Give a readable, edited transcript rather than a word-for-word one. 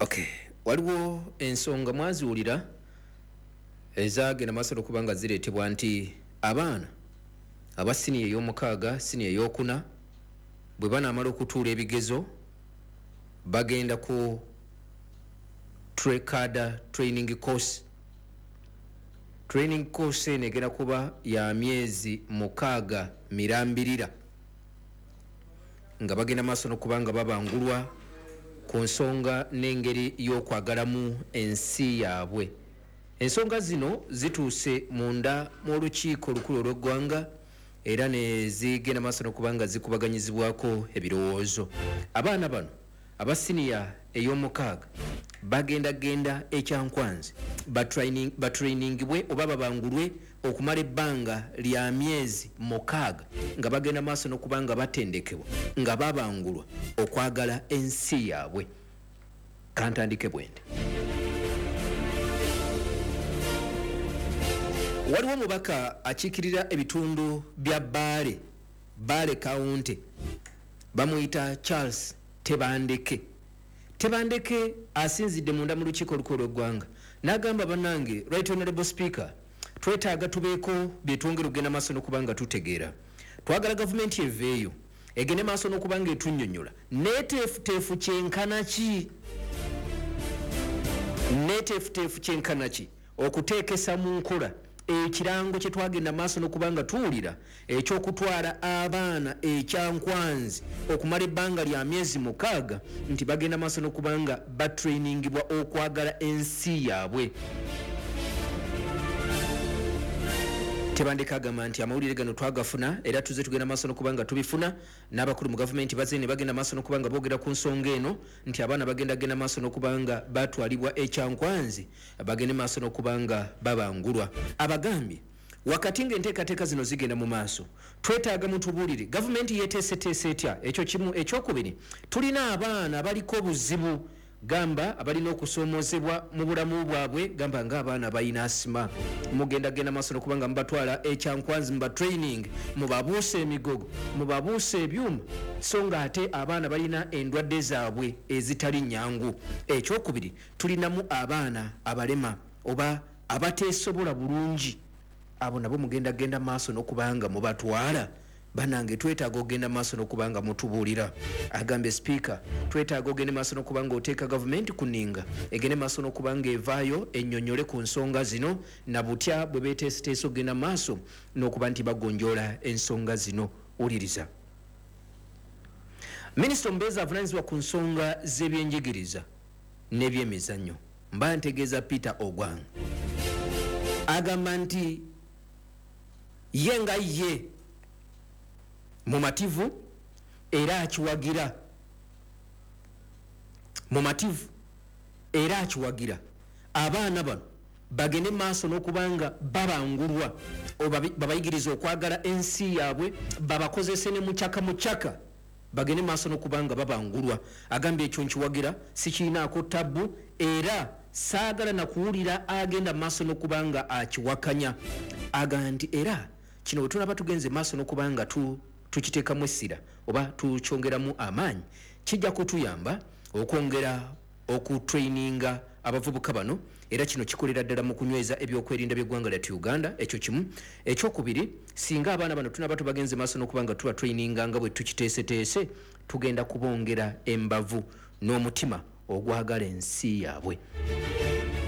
Okay, waliwo ensonga mwaziwulira ezagenda maaso okuba nga zireetebwa nti abaana aba siniya ey'omukaaga, siniya ey'okuna, bwe banaamala okutuula ebigezo bagenda ku cadre training course. Training course eno egenda kuba ya myezi 6 mirambirira, nga bagenda maaso n'okuba nga babangulwa ku nsonga n'engeri y'okwagalamu ensi yaabwe. Ensonga zino zituuse munda mu lukiiko olukulu olw'eggwanga era ne zigenda maaso n'okuba nga zikubaganyizibwako ebirowoozo. Abaana bano aba siniya ey'omukaaga bagenda genda ekyankwanzi batrainingibwe oba babangulwe okumala ebbanga lya myezi 6 nga bagenda maaso n'okuba nga batendekebwa, nga babangulwa okwagala ensi yaabwe. Kantandike bwende. Waliwo omubaka akiikirira ebitundu bya Bbaale, Bbaale County, bamuyita Charles Tebandeke. Tebandeke asinzidde munda mu lukiiko olukulu olw'eggwanga n'agamba, bannange, Right Honorable Speaker, twetaaga tubeeko bye twongera okugenda maaso n'okuba nga tutegeera. Twagala gavumenti eveeyo egende maaso n'okuba nga etunnyonnyola neeteefuteefu kyenkana ki, neeteefuteefu kyenkana ki okuteekesa mu nkola ekirango kye twagenda maaso n'okuba nga tuwulira ekyokutwala abaana ekyankwanzi okumala ebbanga lya myezi 6 nti bagenda maaso n'okuba nga batrainingibwa okwagala ensi yaabwe. Tebandeke agamba nti amawulire gano twagafuna era tuze tugenda maaso n'okuba nga tubifuna, n'abakulu mu gavumenti bazze ne bagenda maaso n'okuba nga boogera ku nsonga eno nti abaana bagenda genda maaso n'okuba nga batwalibwa ekyankwanzi bagende maaso n'okuba nga babangulwa. Abagambye wakati ng'enteekateeka zino zigenda mu maaso, twetaaga mutubuulire gavumenti yeeteeseteese etya. Ekyo kimu. Ekyokubiri, tulina abaana abaliko obuzibu, gamba abalina okusoomozebwa mu bulamu bwabwe, gamba ng'abaana balina asima. Mugenda genda maaso n'okuba nga mubatwala ekyankwanzi, muba training, mubabuusa emigogo, mubabuusa ebyuma, so nga ate abaana balina endwadde zaabwe ezitali nnyangu. Ekyokubiri, tulinamu abaana abalema oba abateesobola bulungi, abo nabo mugenda genda maaso n'okuba nga mubatwala. Banange, twetaaga okugenda maaso n'okuba nga mutubuulira. Agambye sipiika, twetaaga ogende maaso n'okuba nga oteeka gavumenti ku nninga, egende maaso n'okuba nga evaayo ennyonnyole ku nsonga zino na butya bwe beeteeseteese okugenda maaso n'okuba nti bagonjoola ensonga zino. Wuliriza minisita omubeezi avunaanyizibwa ku nsonga z'ebyenjigiriza n'ebyemizannyo, mba ntegeeza Peter Ogwang, agamba nti ye nga ye mumativu era akiwagira, mumativu era akiwagira abaana bano bagende maaso n'okubanga babangulwa, babayigiriza okwagala ensi yaabwe, babakozese ne mukyaka mukyaka, bagende maaso n'okubanga babangulwa. Agambye ekyo nkiwagira, sikiinaako tabbu era saagala nakuwulira agenda maaso n'okubanga akiwakanya. Agamba nti era kino bwe tunaba tugenze maaso n'okubanga tukiteekamu essira oba tukyongeramu amaanyi, kijja kutuyamba okwongera okutraininga abavubuka bano, era kino kikolera ddala mu kunyweza ebyokwerinda by'eggwanga lyattu Uganda. Ekyo kimu. Ekyokubiri, singa abaana bano tunaba tubagenze maaso n'okuba nga tubatraininga nga bwe tukiteeseteese, tugenda kubongera embavu n'omutima ogwagala ensi yaabwe.